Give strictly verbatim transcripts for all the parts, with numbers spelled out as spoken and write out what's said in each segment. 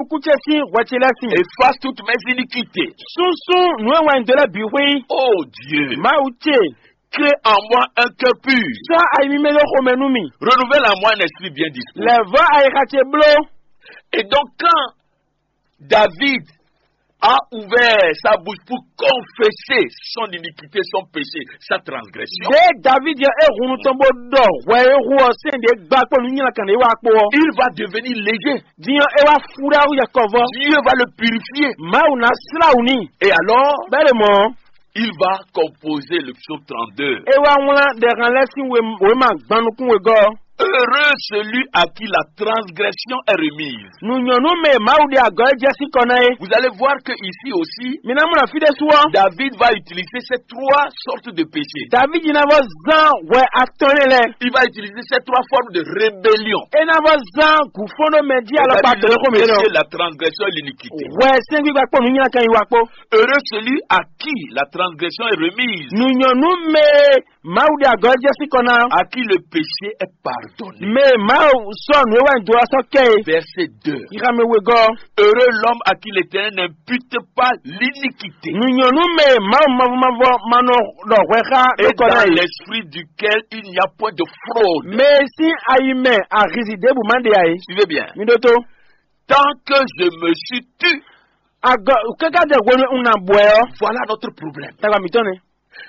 Kú ce sín hwɛ ce lɛ́ɛ sin. Efface toutes mes iniquités. Súnsún nǔ e wɛn dó lɛ́ɛ bǐ xwé. Oh Dieu, Mawu ce, crée en moi un cœur pur. Sɔ́ ayi mímɛ́ ɖó xomɛ nú mì. Renouvelle en moi un esprit bien disposé. Lɛ̌ vɔ́ ayixa ce bló. Et donc, quand David a ouvert sa bouche pour confesser son iniquité, son péché, sa transgression, Ɖěe Davídi ɔ́ é hun nú tɔn bó ɖɔ hwɛ e hu ɔ́ sɛn ɖě gba kpó nǔ nylá kan ɖě wá kpó ɔ́, il va devenir léger. Din ɔ́, é wá fú ɖ'áwú yɛkɔvɔ. Dieu va le purifier. Mawu ná slá wǔ n'i. Et alors, Bɛ́ ɖe mɔ̌, il va composer le psaume trente-deux. É wá wlán ɖɛhan lɛ́ɛ sín we- wěma gban nukún wegɔ́ ɔ́. Heureux celui à qui la transgression est remise. Nǔ nyɔ́ nú mɛ e Mawu ɖe agɔ̌ e jɛ sín kɔ ná é. Vous allez voir que ici aussi, Mi ná mɔ ɖɔ fí ɖésú ɔ́, David va utiliser ces trois sortes de péchés. Davídi ná vɔ zán hwɛ atɔn énɛ́ lɛ́ɛ. Il va utiliser ces trois formes de rébellion. É ná vɔ zán gǔfɔ́n ɖó mɛ jí alɔkpa C'est-à-dire tɔn e xó le mǐ péché, ɔ́. La transgression et l'iniquité. Hwɛ sɛ́ngbígba kpó nǔnywɛ́ kan yi wa kpó. Heureux celui à qui la transgression est remise. Nǔ nyɔ́ nú mɛ e Mawu ɖe agɔ̌ jɛ sín kɔ ná. À qui le péché est pardonné. Mɛ e Mawu sɔ́ nǔ e wɛ un dó ɔ́ sɔ́ kɛ é. Verset deux. Xixa mɛ wegɔ́. Heureux l'homme à qui l'Éternel n'impute pas l'iniquité. Nǔ nyɔ́ nú mɛ e Mawu mavɔ mavɔ ma nɔ ɖɔ hwɛ xá Et ɖó kɔ ná dans é. L'esprit duquel il n'y a point de fraude. Mɛ e sín ayi mɛ ahizi ɖěbǔ ma ɖe ǎ é. Suivez bien. Mi ɖótó. Tant que je me suis tu. Agɔ kɛ́kɛ́ jɛ hwenu un ná bɔɛ ɔ́. Voilà notre problème. Tagba mǐtɔn nɛ.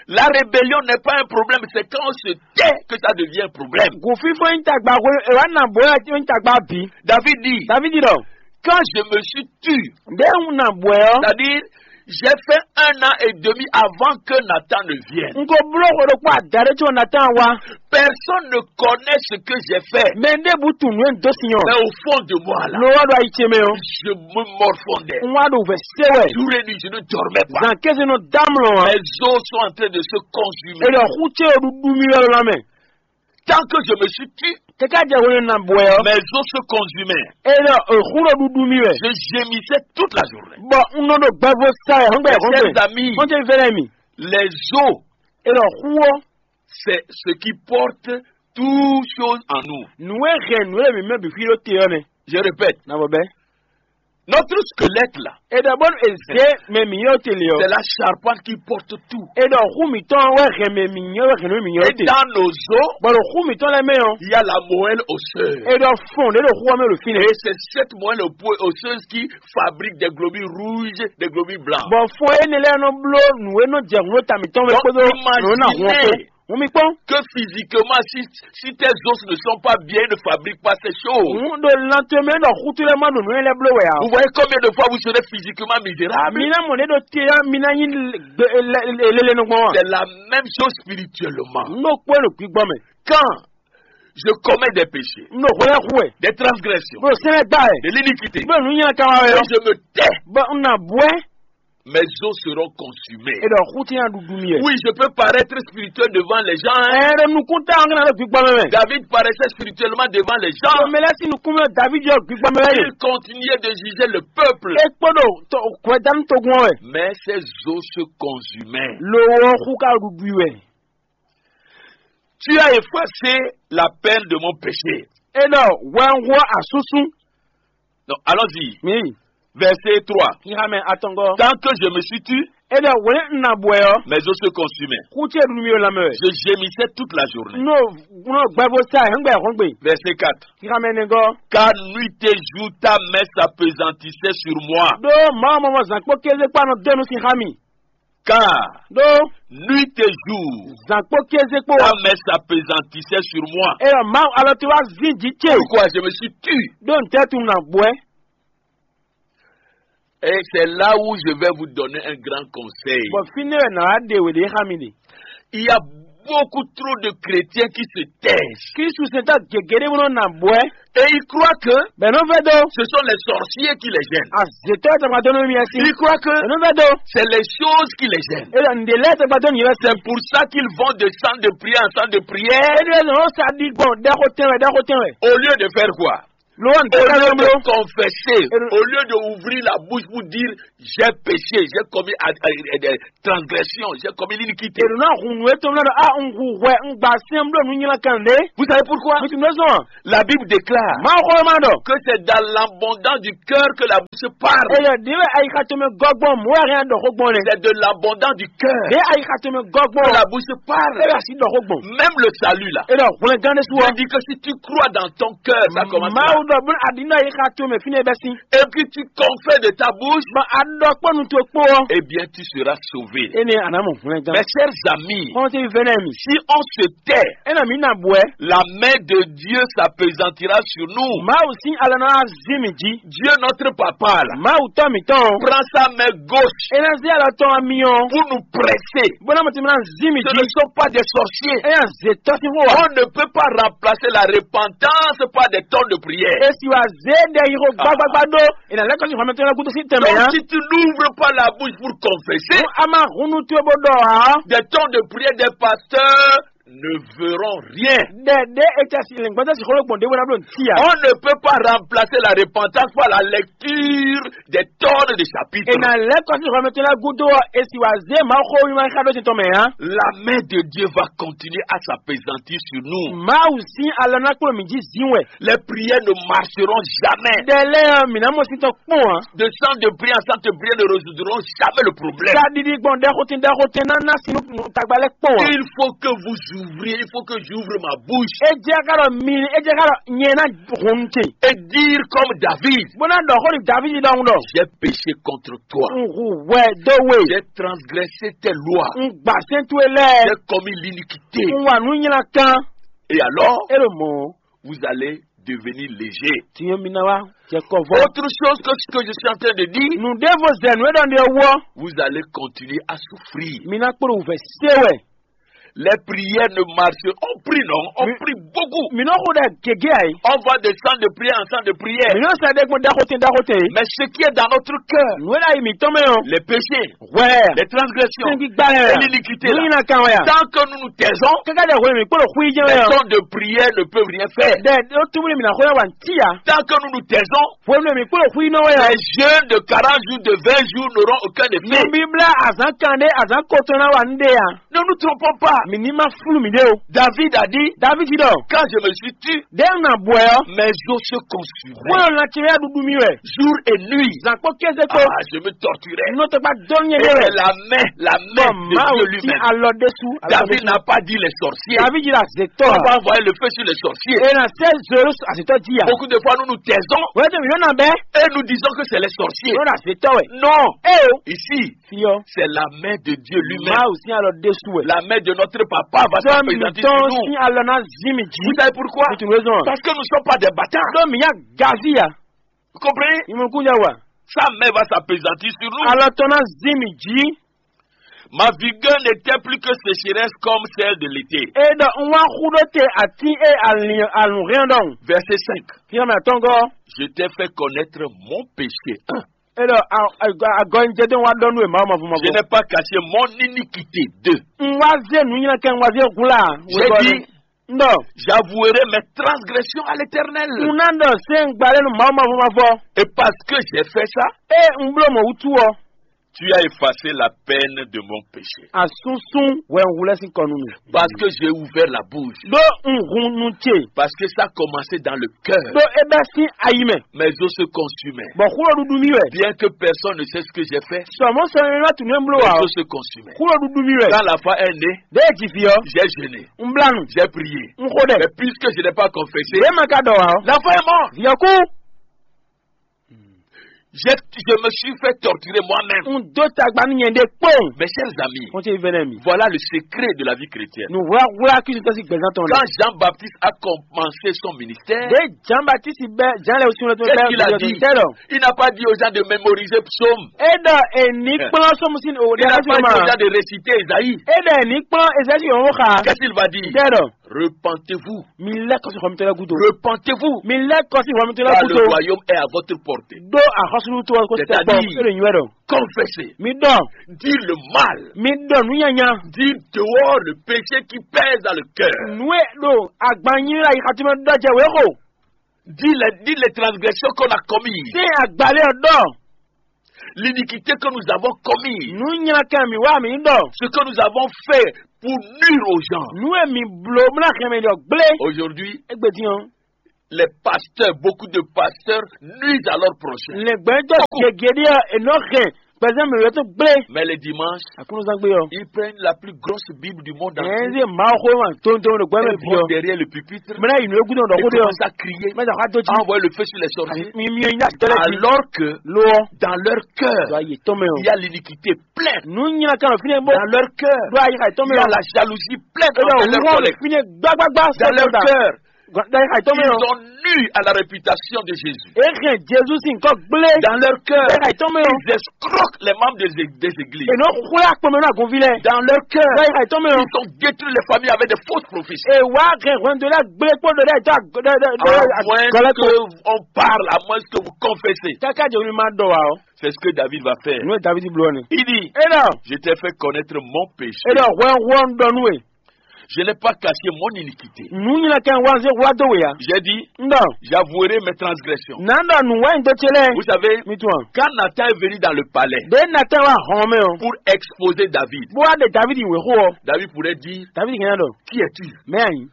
La rébellion n'est pas un problème, c'est quand on se tait que ça devient un problème. Gǔfífɔ́n nyí tagba hwenu è wǎ ná bɔɛ ɔ́ nyí tagba bǐ. David dit, Davídi ɖɔ. Quand je me suis tu, Ɖěe un ná bɔɛ ɔ́. C'est-à-dire, j'ai fait un an et demi avant que Nathan ne vienne. Un ko bló xwe ɖokpó adaɖé có Nathan wá. Personne ne connaît ce que j'ai fait. Mɛ ɖěbǔ tunwun nǔ e un dó sin ɔ́. Mais au fond de moi là, Lo wá ɖo ayi ce mɛ ɔ́. Je me morfondais. Un wá ɖo vɛ̌ sé wɛ. Jour et nuit, je ne dormais pas. Zan kéze nɔ dá mlɔ ǎ. Mes os sont en train de se consumer. È ɖɔ xú ce ɖuɖu mì wɛ lɔ ná mɛ. Tant que je me suis tu, Kɛkɛ jɛ hwenu ná bɔɛ ɔ́. Mes os se consumaient. È ɖɔ xú ɖo ɖuɖu mì wɛ. Je gémissais toute la journée. Bɔ un nɔ ɖo gbɛvo sa wɛ hɔn gbɛ Mes hɔn gbɛ. Chers amis, Hɔn ce fɛn lɛ mi. Les os, È ɖɔ xú ɔ́. C'est ce qui porte toutes choses en nous. Nǔ e hɛn nǔ e mǐ mɛ bǐ xwí ɖó te ɔ́ nɛ́. Je répète. Ná bɔ bɛ́. Notre squelette là, È ɖɔ bónú è zě mɛ mǐ nyɔ́ te lě ɔ́. C'est la charpente qui porte tout. È ɖɔ xú mǐtɔn wɛ hɛn mɛ mǐ nyɔ́ wɛ hɛn nǔ mǐ nyɔ́ Et te. Dans nos os, Bɔ ɖo xú mǐtɔn lɛ́ɛ mɛ ɔ́. Il y a la moelle osseuse. È ɖɔ fɔn ɖě ɖo xú ɔ́ mɛ ɖo fínɛ́. Et c'est cette moelle osseuse qui fabrique des globules rouges, des globules blancs. Bɔ fɔn énɛ́ lɛ́ɛ nɔ bló nǔ e nɔ jɛ hǔn ɖo ta mǐtɔn mɛ Donc, kpódó nǔ e nɔ hun ɔ́ kpó. Imaginez Hǔn mi kpɔ́n. Que physiquement, si, si tes os ne sont pas bien, ils ne fabriquent pas ces choses. Hǔn ɖo lan towe mɛ ɖɔ xútú lɛ́ɛ ma ɖo nǔ e lɛ́ɛ bló wɛ ǎ. Vous voyez combien de fois vous serez physiquement misérable? Mi ná mɔ ɖě ɖo te ɔ́, mi ná nyí lele nɔ gbɔn wá. C'est la même chose spirituellement. Nú ɖo kpó ɖo gbígbɔn mɛ. Quand je commets des péchés, Nú ɖo hwɛ lɛ́ɛ hu wɛ. Des transgressions, Bó sɛ́nɛ gbá wɛ. De l'iniquité, Bó nǔ nyanya ka wá wɛ et ɔ́. Je me tais, Bó un ná bú ɛ. Mes os seront consumés. È ɖɔ xú tí nya ɖuɖu mi wɛ. Oui, je peux paraître spirituel devant les gens, hein. Ɛ ɖo nukún tá ɔ́ ŋgá ɖo gbígbɔn mɛ. David paraissait spirituellement devant les gens. Mɛ lɛ́ɛ sí nukún mɛ David yɔ gbígbɔn mɛ wɛ. Il continuait de juger le peuple. É kpó ɖo hwɛdánú togun ɔ́ wɛ. Mais ses os se consumaient. Lo ɔ́ xú ká ɖuɖu i wɛ. Tu as effacé la peine de mon péché. É ɖɔ hwɛ ń hú asúsú. Donc, allons-y. Mi. Verset trois. Xixa mɛ atɔngɔ. Tant que je me suis tu, É ɖɔ hwɛ un ná bɔɛ ɔ́. Mes os se consumaient. Xú ce ɖu mi wɛ lanmɛ wɛ. Je gémissais toute la journée. Nɔ nɔ gbɛvo sa hɛngbɛ hɔngbe. Verset quatre. Xixa mɛ nɛgɔ. Car nuit et jour ta main s'appesantissait sur moi. Ɖó Mawu mɔ zan kpó kéze kpó anɔ dó nu sin xa mi. Car Ɖó nuit et jour, zan kpó kéze kpó ta main s'appesantissait sur moi. É ɖɔ Mawu alɔ ti wá zín jǐ ce. Pourquoi je me suis tu? Ɖó ntɛ́ tun nà bɔɛ. Et c'est là où je vais vous donner un grand conseil. Bɔ fínɛ́ wɛ nǎ wá ɖe wě ɖé xá mi ɖe. Il y a beaucoup trop de chrétiens qui se taisent. Kristu sɛntɔ́ gěgé ɖé nɔ nà bɔɛ. Et ils croient que Bɛ̌ nɔ vɛ́ dó. Ce sont les sorciers qui les gênent. Azětɔ́ tɔgba dó nɔ mi asi. Ils croient que Bɛ̌ nɔ vɛ́ dó. C'est les choses qui les gênent. É ɖɔ ǹɖě lɛ́ɛ tɔgba dó nyi wɛ. C'est pour ça qu'ils vont de centre de prière en centre de prière. É ɖɔ nɔ sa ɖi gbɔn ɖɛxo tɛn wɛ ɖɛxo tɛn wɛ. Au lieu de faire quoi? Lo wan Au lieu de confesser, au lieu de ouvrir la bouche pour dire j'ai péché, j'ai commis a- a- a- des transgressions, j'ai commis l'iniquité. Èrò náà hun nú étɔn náà ɖɔ a un hu hwɛ un gba sɛn bló nǔ nylá kan ɖé. Vous savez pourquoi? Mo ti nɔ zɔn. La Bible déclare Mawu xɔ ma ɖɔ. Que c'est dans l'abondance du cœur que la bouche parle. Eye ɖi wɛ ayixa tɔn mɛ gɔgbɔn mɔ wɛ hɛn ɖɔ xó gbɔn lɛ. C'est de l'abondance du cœur Ɖe ayixa tɔn mɛ gɔgbɔn. Que la bouche parle. Eye asi ɖɔ xó gbɔn. Même le salut là. Eye hwlɛngán ɖe su Dieu wa. Dit que si tu crois dans ton cœur, ça commence là. Mawu ɖɔ bun aɖi nɔ ayixa tɔn mɛ fínɛ bɛ sin. Et que tu confesses de ta bouche, Bɔn aɖɔ kpɔnu to kpó ɔ. Eh bien, tu seras sauvé. Ene anamɔ hwlɛngán. Mes chers amis, Kɔn ti vɛnɛ mi. Si on se tait, Ena mi na bɔɛ. La main de Dieu s'appesantira sur nous. Mawu sin alɔ na zin mi ji. Dieu, notre papa, là, Mawu tɔ mi tɔn. Prend sa main gauche Ena zin alɔ tɔn mi ɔ. Pour nous presser. Bona mo ti mi na zin mi Ce ji. Ne sont pas des sorciers. Ena ze tɔ si ho wa. On ne peut pas remplacer la repentance par des temps de prière. Esi wa ze de yi ho gbagbagba do. Ena lɛ kɔsi hɔmɛ tɔn la gudo si tɛmɛ Donc, ya. Si tu n'ouvres pas la bouche pour confesser, Ama hunu tu bo dɔ ha. Des temps de prière des pasteurs ne verront rien. Dɛ de e tɛ si lɛngbɔn tɛ si xolo gbɔn de wɛrɛ blo ntia. On ne peut pas remplacer la repentance par la lecture des tonnes de chapitres. Ena lɛ kɔsi hɔmɛ tɔn la gudo esi wa ze ma xo mi ma xa do si tɔmɛ ya. La main de Dieu va continuer à s'appesantir sur nous. Mawu sin alɔ na kpolo mi ji zin wɛ. Les prières ne marcheront jamais. Dɛ lɛ mi na mo si tɔ kpɔn a. De centre de prière en centre de prière ne résoudront jamais le problème. Sa didi gbɔn dɛ xotin dɛ xotin na na sinu tagba lɛ kpɔn a. Il faut que vous ouvriez, il faut que j'ouvre ma bouche. E jɛ ka dɔ mi e jɛ ka dɔ nyɛ na hun te. Et dire comme David, Bona dɔ xo ni David dɔ ŋu dɔ. J'ai péché contre toi. N hu wɛ do we. J'ai transgressé tes lois. N gba sɛn to lɛ. J'ai commis l'iniquité. N wa nu nyina kan. Et alors, E lo mɔ. Vous allez devenir léger. Tiɲɛ mi na wa. Cɛ kɔ vɔ. Autre chose que ce que je suis en train de dire, Nu de vo zɛ nu e dɔ ne wɔ. Vous allez continuer à souffrir. Mi na kpolo vɛ se wɛ. Les prières ne marchent. On prie, non? On prie beaucoup. Mi nɔ xo dɛ gege ayi. On va de centre de prière en centre de prière. Mi nɔ sa dɛ gbɔn daxote daxote. Mais ce qui est dans notre cœur, Nu e la yi mi tɔn mɛ o. Les péchés, Wɛ. Les transgressions, Sɛnki gbalɛ. Et l'iniquité là. Ni na kan wɛ ya. Tant que nous nous taisons, Kaka dɛ hwe mi kpolo xui jɛ les wɛ ya. Temps de prière ne peuvent rien faire. Dɛ o tumuli mi na xo ya wa nti ya. Tant que nous nous taisons, Hwe mi kpolo xui nɔ wɛ ya. Les jeûnes de quarante jours, de vingt jours n'auront aucun effet. Nubibla azan kan de azan kotɔn na wa nde ya. Ne nous trompons pas. Mi ni ma flu mi de o. David a dit, David dɔ. Quand je me suis tu, De na bɔɛ ɔ. Mes os se consumaient. Wolo na tsi ya dudu mi wɛ. Jour et nuit. Zan kpɔ kɛse kpɔ. Ah, je me torturais. N'o tɛ gba dɔn nyɛ Et de wɛ. La main, la main Bɔn de Mawu Dieu ti lui-même. Alɔ de su. David n'a pas dit les sorciers. David yi la zetɔ. On va envoyer le feu sur les sorciers. E na sɛ zoro azetɔ di ya. Beaucoup de fois, nous nous taisons Wɛ tɛ mi yɔ na bɛ. Et nous disons que c'est les sorciers. Yɔ na zetɔ wɛ. Non. E o. Ici, Fiyɔ. C'est la main de Dieu lui-même. Mawu sin alɔ de su wɛ. La main de notre papa va Sɔ mi s'appesantir tɔn sur nous. Sin alɔ na zi mi ji. Vous savez pourquoi? Mo tun wezɔn. Parce que nous ne sommes pas des bâtards. Dɔ mi ya gavi ya. Vous comprenez? Imukun ya wa. Sa main va s'appesantir sur nous. Alɔ tɔn na zi mi ji. Ma vigueur n'était plus que sécheresse comme celle de l'été. E dɔ n wa xu ɖo te ati e alun hɛn dɔn. Verset cinq. Fiyɔ mi atɔngɔ. Je t'ai fait connaître mon péché. Un. E dɔ agɔnjɛ de wa dɔn nu e ma ma fu ma Je fu. N'ai pas caché mon iniquité. Deux. N wa ze nu nyina kɛ n wa ze gula. J'ai dit, N dɔ. J'avouerai mes transgressions à l'Éternel. N na dɔ se n gbalɛ nu ma ma fu ma fɔ. Et parce que j'ai fait ça, E n blo mɔ wutu ɔ. Tu as effacé la peine de mon péché. Asunsun wɛ n wulɛ sin kɔ nu mi. Parce que j'ai ouvert la bouche. Do n hun nu ce. Parce que ça a commencé dans le cœur. Do e bɛ sin ayi mɛ. Mes os se consumaient. Bɔn xulɔ dudu mi wɛ. Bien que personne ne sait ce que j'ai fait, Sɔmɔ sɔmɔ mi ma tunu e n blo mes wa. Os se consumaient. Xulɔ dudu mi wɛ. Quand la foi est née, De e ji fi ɔ. J'ai jeûné, N bla nu. J'ai prié. N xo dɛ. Mais puisque je n'ai pas confessé, De ma ka dɔ wa ɔ. La foi est morte. Fi ɔ ku. Je, je me suis fait torturer moi-même. N do tagba nu nyɛ de kpɔn. Mes chers amis, Kɔn ce vɛnɛ mi. Voilà le secret de la vie chrétienne. Nu wla wla kisi tɔsi gbɛzan tɔn. Quand Jean-Baptiste a commencé son ministère, De Jean Baptiste bɛ Jean le sun le to qu'est-ce qu'il a dit? Tɛ dɔ. Il n'a pas dit aux gens de mémoriser psaume. E dɔ e ni kplɔn sɔmu sin o Il de n'a pas dit aux gens de réciter Isaïe. E dɔ e ni kplɔn Ezekiel o xa. Qu'est-ce qu'il va dire? Tɛ dɔ. Repentez-vous. Mi lɛ kɔsi xɔmitɔ lɛ gudo. Repentez-vous. Mi lɛ kɔsi xɔmitɔ lɛ gudo. Car le royaume est à votre portée. Do axɔsulu to ko tɛ gbɔ. C'est-à-dire, e le nyuɛ dɔ. Confessez. Mi dɔ. Dites le mal. Mi dɔ nu nyanya. Dites dehors le péché qui pèse dans le cœur. Nue do agbanyi la yi xatima dɔ jɛ we ko. Dis les, dis les transgressions qu'on a commises. Sɛ́n agbalé ɔ́ ɖɔ. L'iniquité que nous avons commise. Nǔ nylakɛ mǐ wa mǐ ɖɔ. Ce que nous avons fait pour nuire aux gens. Nǔ e mǐ bló bó ná hɛn mɛ ɖɔ gblé. Aujourd'hui, égbé dín ɔ́, les pasteurs, beaucoup de pasteurs nuisent à leurs prochains. Lɛ̌ngbɛ́jɔ gěgé ɖé ɔ́, è nɔ hɛn gbɛzán mǐ wɛ tó gblé. Mais les dimanches, aklúnúzán gbé ɔ́, ils prennent la plus grosse Bible du monde entier. Ɛ ɛ Mawuxó ma tóntónú ɖo gbɛmɛ. Ils vont derrière le pupitre. Mɛ ná yi nǔ e gúdo ɖɔ xó ɖé ɔ́, ça crier, mɛ ná xá dó jí. Envoyer le feu sur les sorciers. Mi mi nya tɔlɛ jí. Alors que lo ɔ́, dans leur cœur, do ayi tɔn mɛ ɔ́, il y a l'iniquité pleine. Nǔ nyina kan fínɛ bó. Dans leur cœur, do ayi kan tɔn mɛ ɔ́, il y a la jalousie pleine envers leur collègue. Fínɛ gbágbágbá. Dans leur cœur, do ayi kan tɔn mɛ ɔ́, ils ont nu à la réputation de Jésus. E hɛn Jezu sín kɔ gblé. Dans leur cœur, do ayi kan tɔn mɛ ɔ́, ils escroquent les membres des, des églises. E nɔ xwlá kpɔmɛ náà gunví lɛ. Dans leur cœur, do ayi kan tɔn mɛ ɔ́, ils ont détruit les familles avec des fausses prophéties. E wá hɛn hwɛndo lɛ gblé kpó ɖo ɖe tó. À moins que on parle, à moins que vous confessez. Kaka jɛ wuli ma dɔ wa o. C'est ce que David va faire. Nú David bló ni. Il dit, e dɔ, je t'ai fait connaître mon péché. E dɔ hwɛ hwɛ dɔ nú e. Je n'ai pas caché mon iniquité. Nǔ nyina kɛ wá zé wá dó we ya. J'ai dit, n dɔ, j'avouerai mes transgressions. Na dɔ nǔ wá do ce lɛ. Vous savez, mi tún wa. Quand Nathan est venu dans le palais, de Nathan wa hɔn mɛ o, pour exposer David, bó wá de David wé xó o. David pourrait dire, David kɛ dɔ, qui es-tu? Mɛ ayi.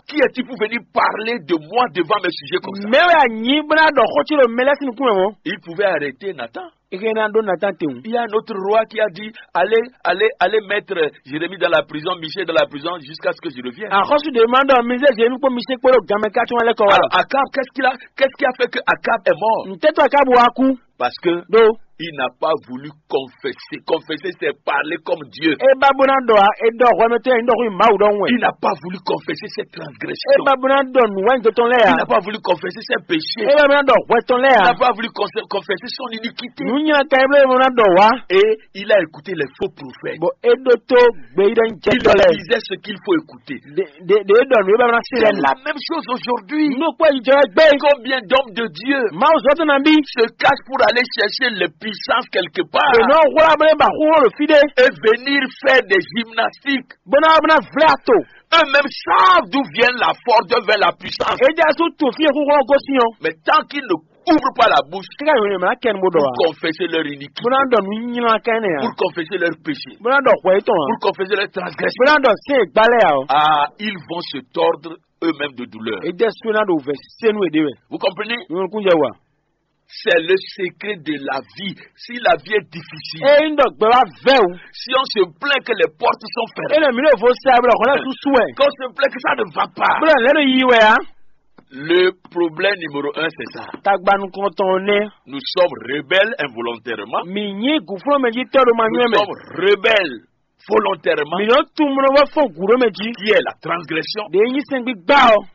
Qui es-tu pour venir parler de moi devant mes sujets comme ça? Mɛ wɛ anyi bó ná dɔ xó ci ɖo mɛ lɛ́ sín nukún mɛ mɔ. Il pouvait arrêter Nathan. Ike ná ɖó Nathan tewun. Il y a un autre roi qui a dit, allez, allez, allez mettre Jérémie dans la prison, Michel dans la prison, jusqu'à ce que je revienne. Axɔ́sú ɖe ma ɖɔ mi zé Jérémie kpó Michel kpó ɖo ganmɛ ká tún wá lɛ́ kɔ wá. Alors Akab, qu'est-ce qu'il a, qu'est-ce qui a fait que Akab est mort? Ntɛ́tɔ Akab wá kú. Parce que do, il n'a pas voulu confesser. Confesser, c'est parler comme Dieu. E ba bó ná dɔ a, e dɔ hwɛ mɛ tɛ, e dɔ hwi Mawu dɔ wɛ. Il n'a pas voulu confesser ses transgressions. E ba bó ná dɔ nǔ wɛ ntɔtɔ lɛ ya. Il n'a pas voulu confesser ses péchés. E ba bó ná dɔ hwɛ tɔn lɛ ya. Il n'a pas voulu conse-, confesser son iniquité. Nǔ nyina ka e bó ná dɔ wa. Et il a écouté les faux prophètes. Bon, e ɖó tó gbeyíɖɔ jɛ tɔ lɛ. Il disait ce qu'il faut écouter. De, de, de, e dɔ nǔ e ba bó ná se lɛ. C'est la même chose aujourd'hui. Nú kpɔ yi jɔ gbé. Combien d'hommes de Dieu, Mawu zɔ tó na bí, se cachent pour aller chercher les puissances quelque part? E nɔ wla bó ba xó lo fi ɖé. Et venir faire des gymnastiques. Bó ná bó ná vlɛ ato. Eux-mêmes savent d'où vient la force, d'où vient la puissance. E jɛ su to fi xó xó gosín o. Mais tant qu'ils ne ouvrent pas la bouche, kíkà yòó ni mɛ kɛ ni bó dɔ wa, pour confesser leur iniquité, bó ná dɔ nǔ nyina kɛ ne ya, pour confesser leur péché, bó ná dɔ hwɛ tɔn wa, pour confesser leur transgression, bó ná dɔ sɛn gbalɛ ya o. Ah, ils vont se tordre eux-mêmes de douleur. E jɛ su ná do vɛ senu e de wɛ. Vous comprenez? Nukun jɛ wa. C'est le secret de la vie. Si la vie est difficile, e yin dɔ gbɛ wa vɛ o, si on se plaint que les portes sont fermées, e nɔ mi le vo sa bla xɔ lɛ susu wɛ, qu'on se plaint que ça ne va pas, bla lɛ nɔ yi wɛ ya. Le problème numéro un, c'est ça. Tagbanu kɔntɔn nɛ. Nous sommes rebelles involontairement. Mi nyi guflɔn mɛ ji tɔ do ma nyuɛ mɛ. Nous sommes rebelles volontairement. Mi nɔ tun mɔ wɛ fɔ gu do mɛ ji. Qui est la transgression? De nyi sɛn gbigba o.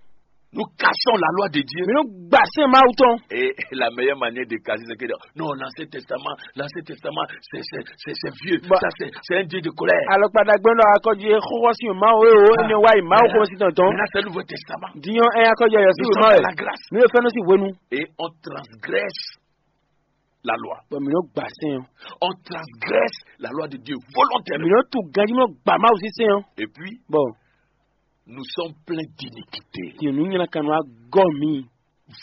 Nous cassons la loi de Dieu. Mi nɔ gba sɛn Mawu tɔn. Et la meilleure manière de casser, c'est que de dire, non, l'Ancien Testament, l'Ancien Testament, c'est, c'est, c'est, c'est vieux. Bah. Ça, c'est, c'est un Dieu de colère. Alɔkpa dagbe nɔ akɔji xɔxɔ si Mawu e o, ne wa yi Mawu xɔ si tɔntɔn. Maintenant, c'est le Nouveau Testament. Diɲɔ ɛ akɔji yɔ si Mawu. Nous sommes dans la grâce. Mi fɛn si wenu. Et on transgresse la loi. Bon, mi nɔ gba sɛn o. On transgresse la loi de Dieu volontairement. Mi nɔ tu ganji mi nɔ gba Mawu si sɛn o. Et puis, bon, nous sommes pleins d'iniquité. Ti nu nyina kanu agɔ mi.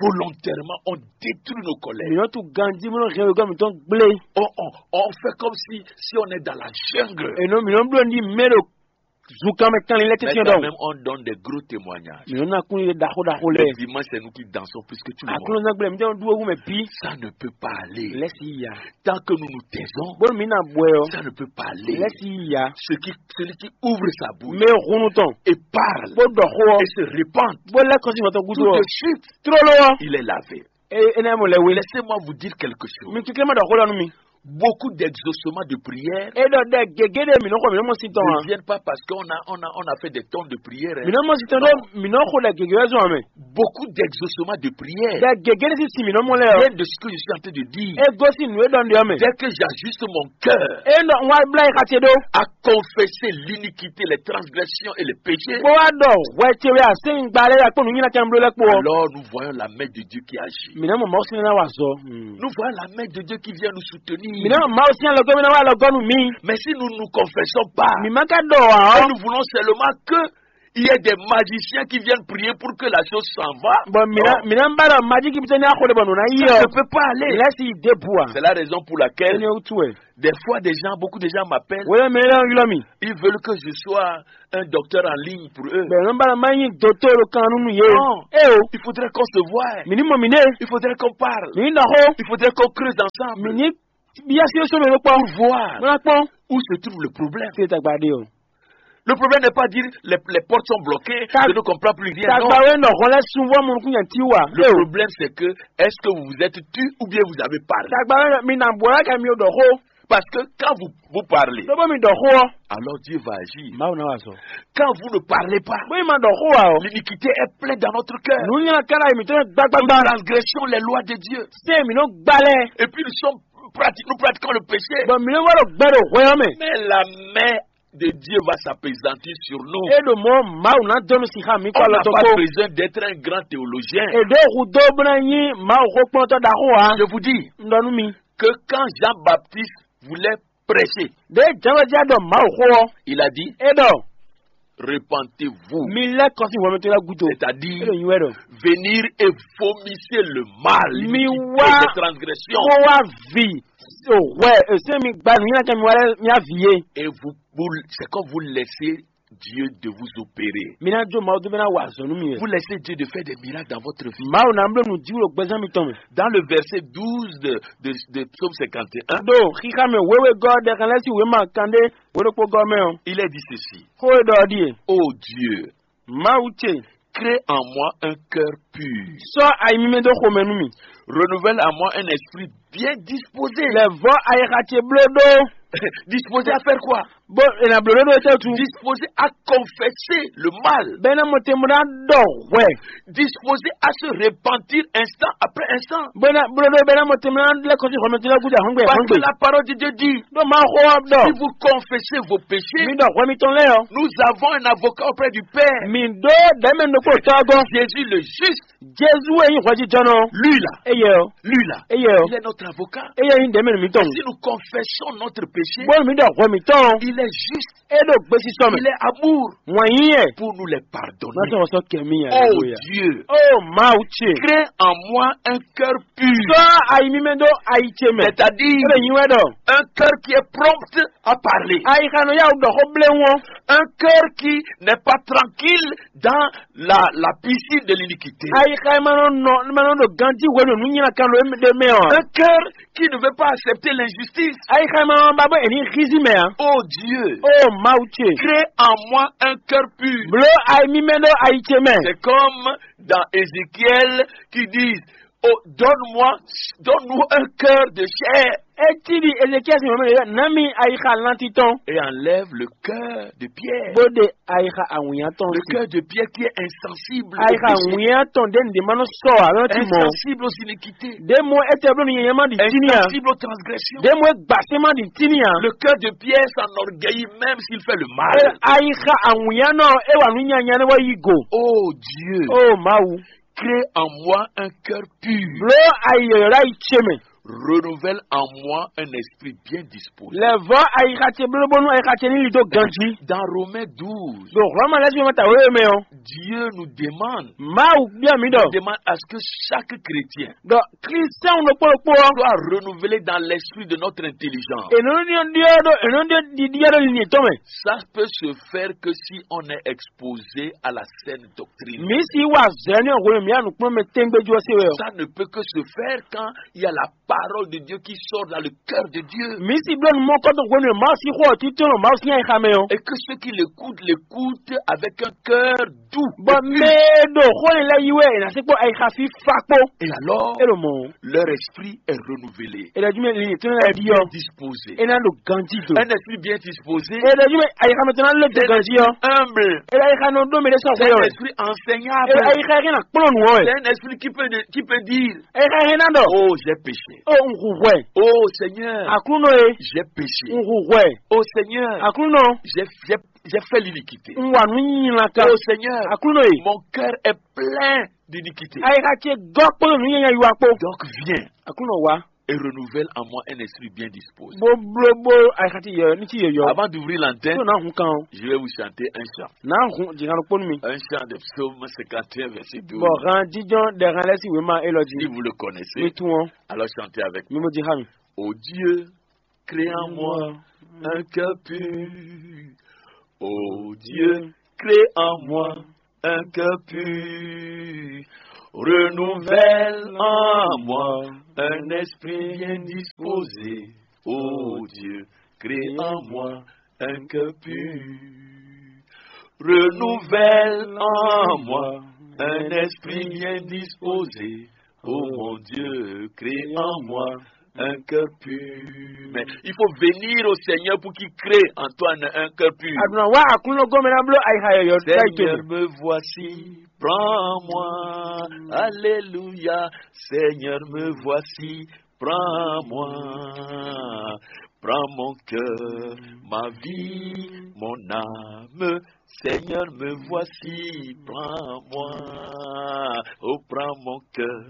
Volontairement, on détruit nos collègues. Mi nɔ tu ganji mi nɔ hɛn wegɔ mi tɔn gblé. On, on, on fait comme si, si on est dans la jungle. E nɔ mi nɔ blo ni mɛ do zunkan mɛ kanlin lɛ tɛtɛ dɔn. Même on donne des gros témoignages. Mi nɔ na kun ye daxo daxo lɛ. Le dimanche, c'est nous qui dansons plus que tout le monde. Aklɔnzagblɛ mi tɛ du ewu mɛ bi. Ça ne peut pas aller. Lɛsi ya. Tant que nous nous taisons, bolo mi na bɔɛ yɔ, ça ne peut pas aller. Lɛsi ya. Ce qui, celui qui ouvre sa bouche, mɛ hunu tɔn, et parle, bo dɔ xo, et se repent, bo lɛ kɔsi mɔtɔ gudu, tout de suite, trolo, il est lavé. E ene mo lɛ we. Laissez-moi vous dire quelque chose. Mi kikle ma dɔ xo dɔ nu mi. Beaucoup d'exaucements de prière, e dɔ dɛ gege de mi nɔ xɔ mi nɔ mɔ si tɔn ne viennent pas parce qu'on a, on a, on a fait des tonnes de prières, hein. Mi nɔ mɔ si tɔn dɔ mi nɔ xo dɛ gege wɛ zɔn mɛ. Beaucoup d'exaucements de prière, dɛ gege de si si mi nɔ mɔ lɛ o, viennent de ce que je suis en train de dire. E gosi nu e dɔ ndi ɔ mɛ. Dès que j'ajuste mon cœur, e nɔ wa bla yi xati do, à confesser l'iniquité, les transgressions et les péchés, bo wa dɔ hwɛ ce wɛ a se ngba lɛ ya kpɔ nu nyina kan blo lɛ kpɔ. Alors nous voyons la main de Dieu qui agit. Mi nɔ mɔ Mawu sinɛ na wa zɔ. Nous voyons la main de Dieu qui vient nous soutenir. Mi nɔ mɔ Mawu sinɛ lɔgɔ mi na wa lɔgɔ nu mi. Mais si nous ne nous confessons pas, mi ma ka dɔ wa, et nous voulons seulement que Il y a des magiciens qui viennent prier pour que la chose s'en va. Bon, mina, mina mbara maji ki bitani akhole bonu na Ça iyo. Ne peut pas aller. Lesi debu a. C'est la raison pour laquelle Ene utue. Des fois, des gens, beaucoup de gens m'appellent. Wele mele yulɔ mi. Ils veulent que je sois un docteur en ligne pour eux. Bɛ nɔ mbara ma yin dotoro kanu nu ye. Non. E o. Il faudrait qu'on se voie. Mini mo mine. Il faudrait qu'on parle. Mini na ho. Il faudrait qu'on creuse ensemble. Mini biya si so me kpɔ. Pour voir Mo na kpɔ. Où se trouve le problème. Se tagba de o. Le problème n'est pas dire les, les portes sont bloquées, Tag- je ne comprends plus rien. Non. Tagba we nɔ hɔn lɛ sunvɔ mo kun yan ti wa. Le problème, c'est que est-ce que vous vous êtes tu ou bien vous avez parlé? Tagba we mi na bɔ la ka mi o dɔ ho. Parce que quand vous, vous parlez, Dobo mi dɔ ho. Alors Dieu va agir. Mawu na wa sɔ. Quand vous ne parlez pas, Bo ma dɔ ho wa o. L'iniquité est pleine dans notre cœur. Nu nya kala mi tɛ gbagbagba. Nos transgressions, les lois de Dieu. Se mi no gbalɛ. Et puis nous sommes pratiqués, nous pratiquons le péché. Bon, mi no wa do gbɛ do hwɛ ɔ mɛ. Mais la main de Dieu va s'appesantir sur nous. E do mɔ Mawu na dɔnu si ha mi On kɔ n'a lɔ to pas ko. Besoin d'être un grand théologien. E do hu do bna nyi Mawu ho kplɔntɔ da ho a. Je vous dis Ndɔnu mi. Que quand Jean-Baptiste voulait prêcher, De jama ja dɔ Mawu ho ɔ. Il a dit, E dɔ repentez-vous. Mi lɛ kɔsi hwɛmɛtɔ la gudo. C'est-à-dire E do nyi wɛ dɔ. Venir et vomissez le mal, Mi l'iniquité, wa les transgressions. Ko wa vi. O hwɛ e se mi gba nu nya kɛ mi wa lɛ mi a vi ye. Et vous, vous, c'est comme vous laissez Dieu de vous opérer. Mi na jo Mawu do bɛ na wa azɔnu mi. Vous laissez Dieu de faire des miracles dans votre vie. Mawu na blo nu jiwu lo gbɛzan mi tɔn mi. Dans le verset douze de, de, de Psaume cinquante et un, Do xixa mi wewe gɔ de kan lɛ si we ma kan de we do kpo gɔ mɛ o. Il est dit ceci. Ko e dɔ di e. Oh Dieu, Mawu ce. Crée en moi un cœur pur. Sɔ ayi mi mɛ do xo mɛ nu mi. Renouvelle en moi un esprit bien disposé. Lɛ vɔ ayi xa ce blo do. Disposé à faire quoi? Bo e na blo do do ce tu. Disposé à confesser le mal. Bɛ na mo te mo na dɔ hwɛ. Disposé à se repentir instant après instant. Bɛ na blo do bɛ na mo te mo na lɛ kɔsi hɔmɛ te la guda hɔngbe. Parce que hɔngbe. La parole de Dieu dit, Do ma xo dɔ. Si vous confessez vos péchés, Mi dɔ hwɛ mi tɔn lɛ yɔ. Nous avons un avocat auprès du Père. Mi do dɛmɛ no ko tɔgɔ. Jésus le juste. Jesu e yin hwɛjijɔnɔ. Lui là. Eye o. Lui là. Eye o. Il est notre avocat. Eye yin dɛmɛ mi tɔn. Si nous confessons notre péché, Bo mi dɔ hwɛ mi tɔn. Il est juste. E do gbesi sɔmɛ. Il est amour. Wɔn yin yɛ. Pour nous les pardonner. Ma sɔ sɔ kɛ mi ya. Oh Dieu. Oh Mawu ce. Crée en moi un cœur pur. Sɔ ayi mi mɛ do ayi ce mɛ. C'est-à-dire E bɛ yin wɛ dɔ. Un cœur qui est prompt à parler. Ayi xa nɔ ya dɔ xɔ ble wɔn. Un cœur qui n'est pas tranquille dans la, la piscine de l'iniquité. Ayi xa ma nɔ nɔ ma nɔ do ganji wɛ do nu nyina kan do de mɛ o. Un cœur qui ne veut pas accepter l'injustice. Ayi xa ma nɔ ba bɔ eni xizi mɛ a. Oh Dieu, Oh Mawu ce. Crée en moi un cœur pur. Blo ayi mi mɛ do ayi ce mɛ. C'est comme dans Ézéchiel qui dit, oh, donne-moi, donne-nous un cœur de chair. Eti di Ezekiel si mɔmɛ yɛ nami ayi xa lanti tɔn. Et enlève le cœur de pierre. Bo de ayi xa awunya tɔn. Le cœur de pierre qui est insensible au péché. Ayi xa awunya tɔn de nde ma nɔ sɔ a lɔ ti mɔ. Insensible aux iniquités. De mo ete blo ni yɛma di tini a. Insensible aux transgressions. De mo gbasema di tini a. Le cœur de pierre s'enorgueillit même s'il fait le mal. E ayi xa awunya nɔ e wa nu nyanya ne wa yi go. Oh Dieu. Oh Mawu. Crée en moi un cœur pur. Blo ayi yɔyɔ la yi ce mɛ. Renouvelle en moi un esprit bien disposé. Lɛ vɔ ayi xa ce blo bonu ayi xa ce ni li do ganji. Dans Romains douze, Do Roma lɛ si ma ta wewe mɛ o. Dieu nous demande, Mawu bia mi dɔ. Demande à ce que chaque chrétien Donc, Christian no kpolo kpolo. Soit renouvelé dans l'esprit de notre intelligence. E no ni dio do e no dio di dio do ni to mɛ. Ça peut se faire que si on est exposé à la saine doctrine. Mi si wa zɛni o wolo mi anu kpɔn mɛ tengbe jo se wɛ. Ça ne peut que se faire quand il y a la parole de Dieu qui sort dans le cœur de Dieu. Mi si blo nu mɔ kɔ to wolo ma si xɔ ti to ma si nya xa mɛ o. Et que ceux qui l'écoutent, l'écoutent avec un cœur doux. Bɔ mɛ do xɔ ni lɛ yi wɛ na se kpɔ ayi xa fi fa kpɔ. Et alors, E lo mɔ. Leur esprit est renouvelé. E la jumɛn li to na Est di bien yɔ. Disposé. E na do ganji do. Un esprit bien disposé. E la jumɛn ayi xa mɛ to na le do ganji yɔ. Humble. E la ayi xa no do mi de sɔ fɛ yɔ. Un esprit enseignable. E la ayi xa na kplɔn nu wɔ. C'est un esprit qui peut, qui peut dire, E xa na dɔ. Oh, j'ai péché. O n hu hwɛ. Oh Seigneur, Aklunɔ ye. J'ai péché. N hu hwɛ. Oh Seigneur, Aklunɔ. J'ai, j'ai, j'ai fait l'iniquité. N wa nu nyina kan. Oh Seigneur, Aklunɔ ye. Mon cœur est plein d'iniquité. Ayi xa ce gɔ kpolo nu nyanya yi wa kpo. Donc viens. Aklunɔ wa. Et renouvelle en moi un esprit bien disposé. Bó bló bó ayixa ti yɔ ní ti yɔyɔ. Avant d'ouvrir l'antenne, Tó náà hun kan o. Je vais vous chanter un chant. Náà hun jìnnà ló kpónú mi. Un chant de psaume cinquante et un, verset douze. Bɔ han jíjɔn ɖɛ han lɛ́ sí wěma élɔ́ jí. Si vous le connaissez, Mi tún ɔ́. Alors chantez avec moi. Mi mo jí há mi. Ô Dieu, crée en moi un cœur pur. Ô Dieu, crée en moi un cœur pur. Renouvelle en moi un esprit bien disposé. Ô Dieu, crée en moi un cœur pur. Renouvelle en moi un esprit bien disposé. Ô mon Dieu, crée en moi un cœur pur. Mais il faut venir au Seigneur pour qu'il crée en toi un, un cœur pur. Aduna wa akunlo gomena blo ayi ha yɔyɔ da Seigneur, ito. Me voici, prends-moi. Alléluia. Seigneur, me voici, prends-moi. Prends mon cœur, ma vie, mon âme. Seigneur, me voici, prends-moi. Oh, prends mon cœur,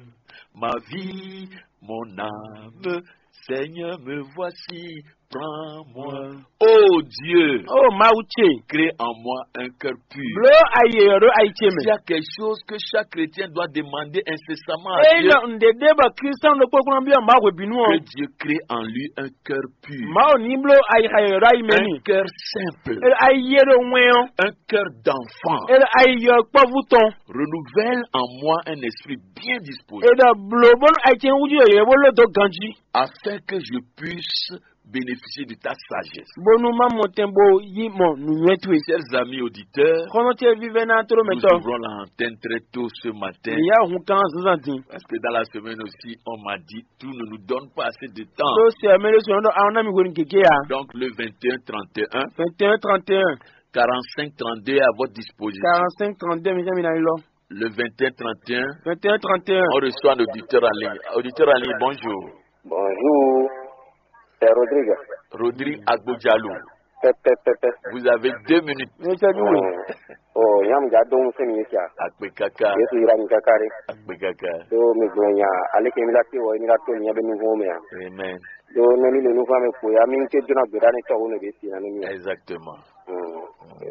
ma vie, mon âme. Seigneur, me voici, prends-moi. Oh Dieu, Oh Mawu ce. Crée en moi un cœur pur. Blo ayi yɔyɔ ɖo ayi ce S'il y mɛ. A quelque chose que chaque chrétien doit demander incessamment à Eyi Dieu, lɔ ŋɖe ɖe bɔ Kristian ɖokpó kplɔ́n byɔ́ Mawu hwebǐnu ɔ́. Que Dieu crée en lui un cœur pur. Mawu ní bló ayi ha yɔyɔ ɖo ayi mɛ Un n'i. Cœur simple. Elo ayi yé ɖo wɛn ɔ́. Un cœur d'enfant. Elo ayi yɔ kpɔ́vú tɔn. Renouvelle en moi un esprit bien disposé. Eɖɔ blo bónú ayi ce wújú yɔyɔ bó ló dó ganjí. Afin que je puisse bénéficier de ta sagesse. Bónú má mɔ tɛn bó yí mɔ nǔnywɛ́ towe. Chers amis auditeurs, Xɔnɔ ce vívɛ́ná tló nous mɛtɔ. Ouvrons l'antenne très tôt ce matin. Ìyá òun kan zǎnzǎn din. Parce que dans la semaine aussi, on m'a dit, tout ne nous donne pas assez de temps. Tó sɛ mɛ ɖé sɔn ɖɔ àwọn náà mi hwenu gègé ya. Donc le vingt et un trente et un, Vingt et un trente et un. Quarante-cinq trente-deux est à votre disposition. Quarante-cinq trente-deux mi jẹ́ mi na lọ. Le vingt et un trente et un, Vingt et un trente et un. On reçoit un auditeur en ligne. Auditeur en ligne, bonjour. Bonjour. C'est Rodrigue. Rodrigue Agbodjalou. Pɛpɛpɛpɛ. Vous avez deux minutes. Ní sẹ́jú wò. Oh, yam ja dɔn fún mi kya. Akpe kaka. Yesu yira mi kaka re. Akpe kaka. So mi gbɔn nya, ale ke mi la te wɔ, mi la to nya be mi vo mi a. Amen. Do ne mi le nu fa mi ko ya mi ke jona gbeda ne tɔ wo ne be si na ne mi. Exactement. Hmm.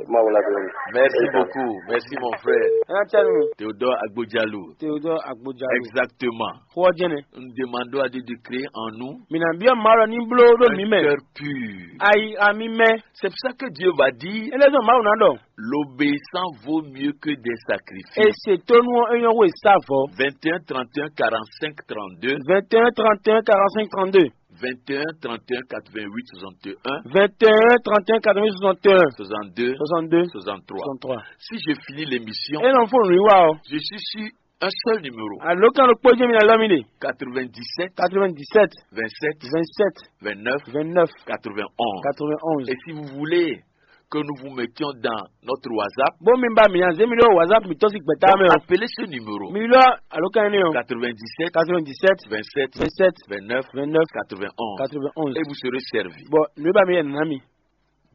Ma wala do. Merci beaucoup. Merci mon frère. Ɛ cɛ nu. Théodore Agbodjalou. Théodore Agbodjalou. Exactement. Xɔ jɛnɛ. Nous demandons à Dieu de créer en nous Mina biɔ ma lɔ ni blo ɖo un mi mɛ. Cœur pur. Ayi ami mɛ. C'est pour ça que Dieu va dire, Ele zɔn Mawu na ɖɔ. L'obéissance vaut mieux que des sacrifices. Ese tonu ɔ enyɔ wo esavɔ. Vingt et un trente et un quarante-cinq trente-deux. Vingt et un trente et un quarante-cinq trente-deux. Vingt et un trente et un quatre-vingt-huit soixante et un. Vingt et un trente et un quatre-vingt-huit soixante et un. Soixante-deux. Soixante-deux. Soixante-trois. Soixante-trois. Si je finis l'émission, E nɔ fo nri wa o. Je suis sur un seul numéro. Alo kan lo kpɔjɛ mi na lɔ mi de. Quatre-vingt-dix-sept. Quatre-vingt-dix-sept. Vingt-sept. Vingt-sept. Vingt-neuf. Vingt-neuf. Quatre-vingt-onze. Quatre-vingt-onze. Et si vous voulez que nous vous mettions dans notre WhatsApp, Bo mi ba mi yan zemi lo WhatsApp mi tɔsi gbɛta donc mɛ o. Appelez ce numéro. Mi lɔ alo kan ne o. Quatre-vingt-dix-sept. Quatre-vingt-dix-sept. Vingt-sept. Vingt-sept. Vingt-neuf. Vingt-neuf. Quatre-vingt-onze. Quatre-vingt-onze. Et vous serez servi. Bon, ne ba mi yan na mi.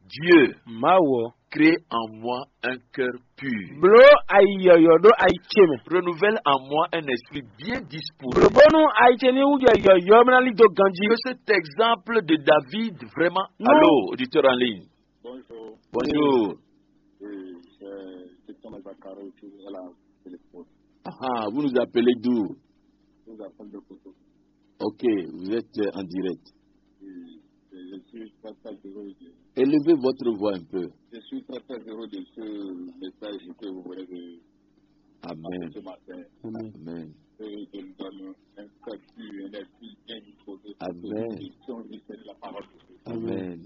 Dieu, Mawu ɔ. Crée en moi un cœur pur. Blo ayi yɔyɔ ɖo ayi ce mɛ. Renouvelle en moi un esprit bien disposé. Blo bónú ayi ce ní wújɔ yɔyɔ mɛ ná lí dó ganjí. Que cet exemple de David vraiment. Non. Allô, auditeur en ligne. Bonjour. Bonjour. Oui, c'est Christian Mazakaro qui est à la téléphone. Ah, vous nous appelez d'où? Je vous appelle de Koto. Ok, vous êtes, euh, en direct. Oui, je suis très, très heureux de Élevez votre voix un peu. Je suis très, très heureux de ce message que vous venez de Amen. Passer ce matin. Amen. Amen. Et de nous donner un cœur pur, un esprit bien disposé pour Amen. Que nous puissions retenir la parole de Dieu. Amen.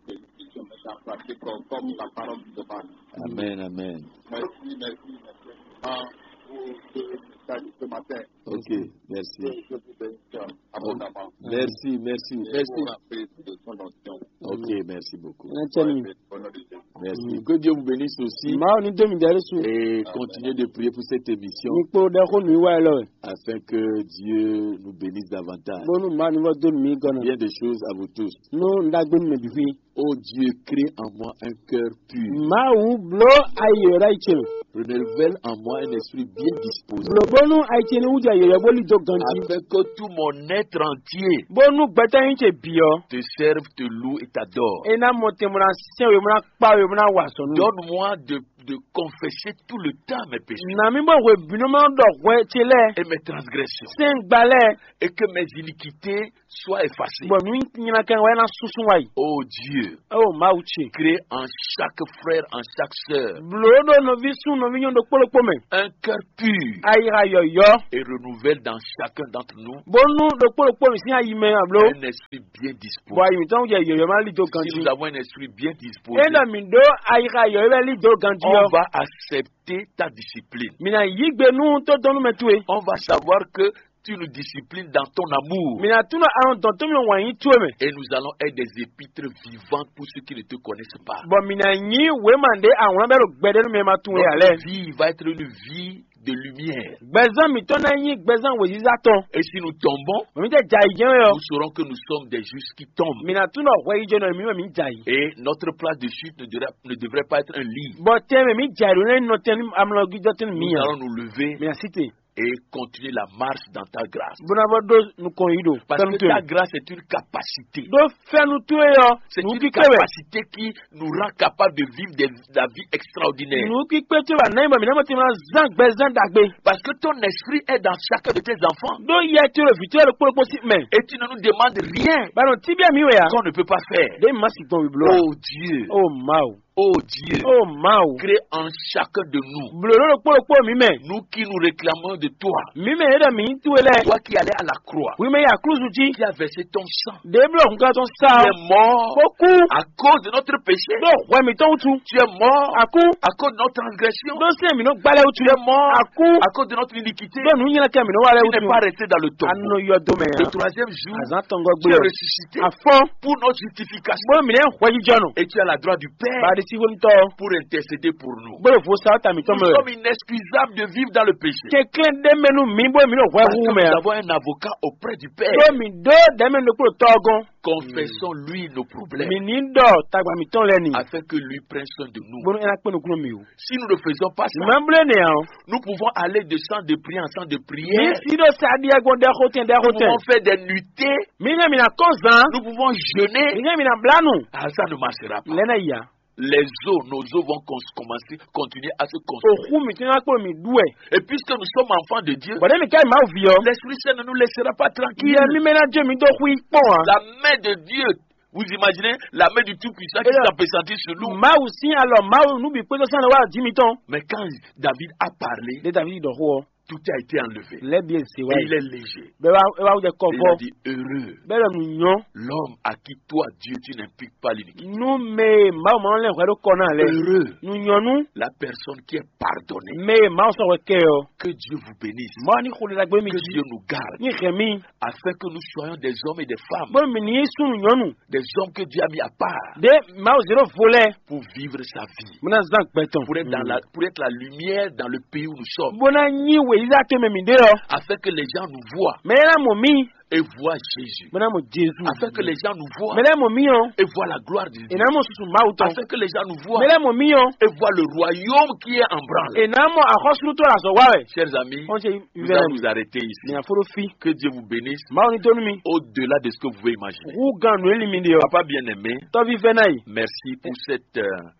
Que nous puissions mettre en pratique comme, comme la parole nous demande. Amen, amen. Merci, merci, merci infiniment pour ce message de ce matin. Ok, merci. Que Dieu vous bénisse abondamment. Merci, merci, et merci. Vous rappeler de son onction. Ok, merci beaucoup. Ɛ cɛ mi. Au nom de Jésus. Merci. Que Dieu vous bénisse aussi. Mawu ní dó mi ɖɛ ɖésú. Et continuez de prier pour cette émission. Mi kpo ɖɛ xó nǔ wa lɔ. Afin que Dieu nous bénisse davantage. Bónú Mawu ní vɔ dó nǔ mì gɔ́ ná. Bien des choses à vous tous. Nú un ɖagbe nú mɛ bǐ xwí. Oh Dieu, crée en moi un cœur pur. Mawu bló ayi yǒ ɖo ayi ce mɛ. Renouvelle en moi un esprit bien disposé. Bló bónú ayi ce ní wú jɛ yǒyɔ bó lí dó ganjí. Afin que tout mon être entier Bónú gbɛtɔ́ nyí ce bǐ ɔ́. Te serve, te loue et t'adore. É ná mɔ tɛn bó ná sɛn we bó ná kpá we bó ná wa azɔ̌ nú. Donne-moi de, de confesser tout le temps mes péchés Nà mì bó hwebǐnu ma ɖɔ hwɛ ce lɛ́ɛ. Et mes transgressions. Sɛn gba lɛ́ɛ. Et que mes iniquités soient effacées. Bɔ nǔ nyilakan wɛ ná súnsún wa yi. Oh Dieu, Oh Mawu ce. Crée en chaque frère, en chaque sœur Bló ɖo nɔví sún nɔví nyɔ́ ɖokpó ɖokpó mɛ. Un cœur pur Ayixa yɔ̌yɔ́. Et renouvelle dans chacun d'entre nous Bónú ɖokpó ɖokpó mǐ sín ayi mɛ abló. Un esprit bien disposé. Bɔ ayi mǐtɔn jɛ yɔ̌yɔ́ má lí dó Si ganjí. Nous avons un esprit bien disposé, É ɖɔ mǐ ɖó ayixa yɔ̌yɔ́ wɛ lí dó ganjí on ɔ́. Va accepter ta discipline. Mǐ ná yí gbe nú tódɔnnúmɛ towe. On va savoir que tu nous disciplines dans ton amour. Mǐ ná tunɔ alɔn dɔn tó mì wǎn yí towe mɛ. Et nous allons être des épîtres vivantes pour ceux qui ne te connaissent pas. Bɔ mǐ ná nyí wěma ɖé awlán bɛ́ ɖo gbɛɖé nú mɛ ma tunwe ǎ Notre lɛ́ɛ. Vie va être une vie de lumière. Gbɛzán mǐtɔn ná nyí gbɛzán wěziza tɔn. Et si nous tombons, Mǐ tɛ jɛ ayǐ jɛ́n wɛ ɔ́. Nous saurons que nous sommes des justes qui tombent. Mǐ ná tunɔ hwɛ yi jɛnɔ mǐ wɛ mǐ jɛ ayǐ. Et notre place de chute ne devrait, ne devrait pas être un lit. Bɔ tɛn mɛ mǐ jɛ ayǐ ɖo lɛ́ nɔ tɛn amlɔgíjɔ tɛn mǐ Nous ǎ. Allons nous lever Mǐ ná sí te. Et continuer la marche dans ta grâce. Bó ná bɔ ɖó nukɔn yí ɖo. Parce que ta grâce est une capacité. Ɖó fɛ́nu towe ɔ́. C'est une capacité qui nous rend capable de vivre des, la vie extraordinaire. Nǔ kpíkpé towe wɛ ná nyí bɔ mǐ ná mɔ tɛn mǐ ná zán gbɛzán ɖagbe. Parce que ton esprit est dans chacun de tes enfants. Ɖó yɛ towe ɖo vǐ towe ɖokpó ɖokpó sí mɛ. Et tu ne nous demandes rien Bɔ nɔ tíbíà mǐ wɛ ǎ. Qu'on ne peut pas faire. Ɖé mǐ ma si gbɔn wǐbló ǎ. Oh Dieu. Oh Mawu. Oh Dieu. Oh Mawu. Crée en chacun de nous. Blǒ ɖokpó ɖokpó mǐ mɛ. Nous qui nous réclamons de toi. Mǐ mɛ e ɖɔ mǐ nyí towe lɛ́ɛ. Toi qui allais à la croix. Wi mɛ yi aklúzu jí. Qui a versé ton sang. Ɖě bló hunkan tɔn sa. Tu es mort. Kó kú. À cause de notre péché. Ɖó hwɛ mǐtɔn wútu. Tu es mort. A kú. À cause de notre transgression. Ɖó sɛ́n mǐ nɔ gbá lɛ́ɛ wútu. Tu es mort. A kú. À cause de notre iniquité. Ɖó nǔ nyɛ́lɛ́kɛ mǐ nɔ wa lɛ́ɛ wútu. Tu n'es pas resté dans le tombeau. A nɔ yɔ do mɛ. Le troisième jour. Azán tɔngɔ́ gbé. Tu es ressuscité. A fɔ́n. Pour notre justification. Bó mǐ nɛ́ hwɛjijɔnɔ. Et tu es à la droite du Père. Ba ɖi sí wónútɔ́. Pour intercéder pour nous. Bó ɖo vo sa ɔ́ ta mǐtɔn mɛ. Nous sommes inexcusables de vivre dans le péché. Kɛnklɛ́n ɖé mɛ nú mǐ bó mǐ ɖo hwɛ Parce hu que mɛ. Nous avons un avocat auprès du Père. Ɖó mǐ ɖó ɖɛ̌mɛ ɖokpó ɖo tɔ́ ɔ́ gɔ́n. Confessons-lui nos problèmes. Mǐ ní ɖɔ tagba mǐtɔn lɛ́ɛ ni. Afin que lui prenne soin de nous. Bónú é ná kpé nukúnnú mǐ wú. Si nous ne faisons pas ça, Mǐ ma bló énɛ́ ǎ ɔ́. Nous pouvons aller de centre de prière en centre de Mǐ prière. Sí ɖo sa ɖiɛ gbɔn ɖɛ xotɛn ɖɛ Nous xotɛn. Pouvons faire des nuitées. Mǐ hɛn mǐ ná kɔn zán. Nous pouvons jeûner. Mǐ hɛn mǐ ná blá nu. Ah, ça ne marchera pas. Lɛ́ ná yi ya. Les os, nos os vont cons- commencer, continuer à se construire. Òxú mǐtɔn ná kplɔ́n mǐ ɖu wɛ. Et puisque nous sommes enfants de Dieu, Bɔ̌ ɖé mi ká yi Mawu ví ɔ́. L'Esprit Saint ne nous laissera pas tranquille. Yɛ mímɛ́ ná jó mi dó xwí kpɔ́n ǎ. La main de Dieu, vous imaginez la main du Tout-Puissant qui Eya. S'apesantit sur nous. Mawu sín alɔ Mawu nú bǐ kpédó sán lɔ wá jí mitɔn. Mais quand David a parlé, Ɖé Davídi ɖɔ xó ɔ́. Tout a été enlevé. Lɛ́ bǐ e zě wá Et il yi. Est léger. Bɛ́ wá é wá wú jɛ kɔ Et il vɔ. A dit, heureux Bɛ́ ɖɔ nù nyɔ́. L'homme à qui toi, Dieu, tu n'impliques pas l'iniquité. Nú mɛ e Mawu ma lɛ́n hwɛ ɖó kɔ ná lɛ. Heureux Nù nyɔ́ nú la personne qui est pardonnée. Mɛ e Mawu sɔ́ hwɛ kɛ ɔ́. Que Dieu vous bénisse. Mawu ní xo ɖaɖa gbé mi Que jí. Dieu nous garde. Ní hɛn mì. Afin que nous soyons des hommes et des femmes. Bó mi ní sú nù nyɔ́ nù. Des hommes que Dieu a mis à part Ɖé Mawu zé ɖó vo lɛ́ɛ. Pour vivre sa vie. Bó ná zán gbɛ tɔn. Pour être dans la, pour être la lumière dans le pays où nous sommes. Bó ná nyí wěyízá tó mɛ mǐ ɖé ɔ́. Afin que les gens nous voient Mɛ é ná mɔ mì. Et voient Jésus. Bó ná mɔ Jezu. Afin que les gens nous voient Mɛ é ná mɔ mì ɔ́. Et voient la gloire de Dieu. É ná mɔ susu Mawu tɔn. Afin que les gens nous voient Mɛ é ná mɔ mì ɔ́. Et voient le royaume qui est en branle. É ná mɔ axɔ́sútɔ azɔ̌ wa wɛ. Chers amis, Wọ́n ṣe nous allons nous arrêter ici. Ní àfúró fi. Que Dieu vous bénisse. Mawu ní tónú mi. Au-delà de ce que vous pouvez imaginer. Wú gan nǔ e li mi ɖe ɔ́. Papa bien-aimé, Tɔ́ví fɛ́ ná yi. Merci pour cette euh,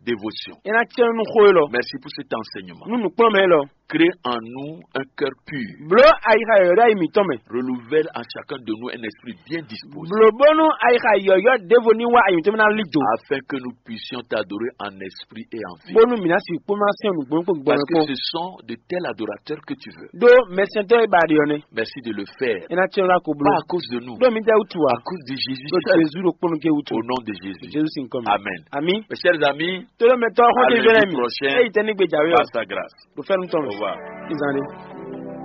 dévotion. É ná cɛ nú xó e lɔ. Merci pour cet enseignement. Nú nǔkplɔ́nmɛ e lɔ. Crée en nous un cœur pur. Bló ayixa yɔ̌yɔ́ ɖo ayi mǐtɔn mɛ. Renouvelle en chacun de nous un esprit bien disposé. Bló bónú ayixa yɔ̌yɔ́ ɖěvo ní wá ayi mǐtɔn mɛ ná lí do. Afin que nous puissions t'adorer en esprit et en vie. Bónú mǐ ná sixú kpó ná sɛn nǔgbó kpó Parce gbɔn que kpó. Ce sont de tels adorateurs que tu veux. Ɖó mɛsɛntɔ́ e ba ɖe ɔ́ nɛ́. Merci de le faire. É ná cɛ lá ko bló. Pas à cause de nous. Ɖó mǐ jɛ wútu ǎ. À cause de Jésus Ɖó seul. Jezu ɖo kpónú ké wútu. Au nom de Jésus. Jezu sin kɔn mɛ. Amen. Ami. Mes chers amis, Tó ló mɛ tɔ́ xɔ à tó lundi ìfẹ́ lɛ́ mi. Prochain. Éyìí tẹ́ ní gbèjà wé Par ɔ́. Sa grâce. Ɖo fɛ́nú tɔn mɛ. Au revoir. Ìzàn ni.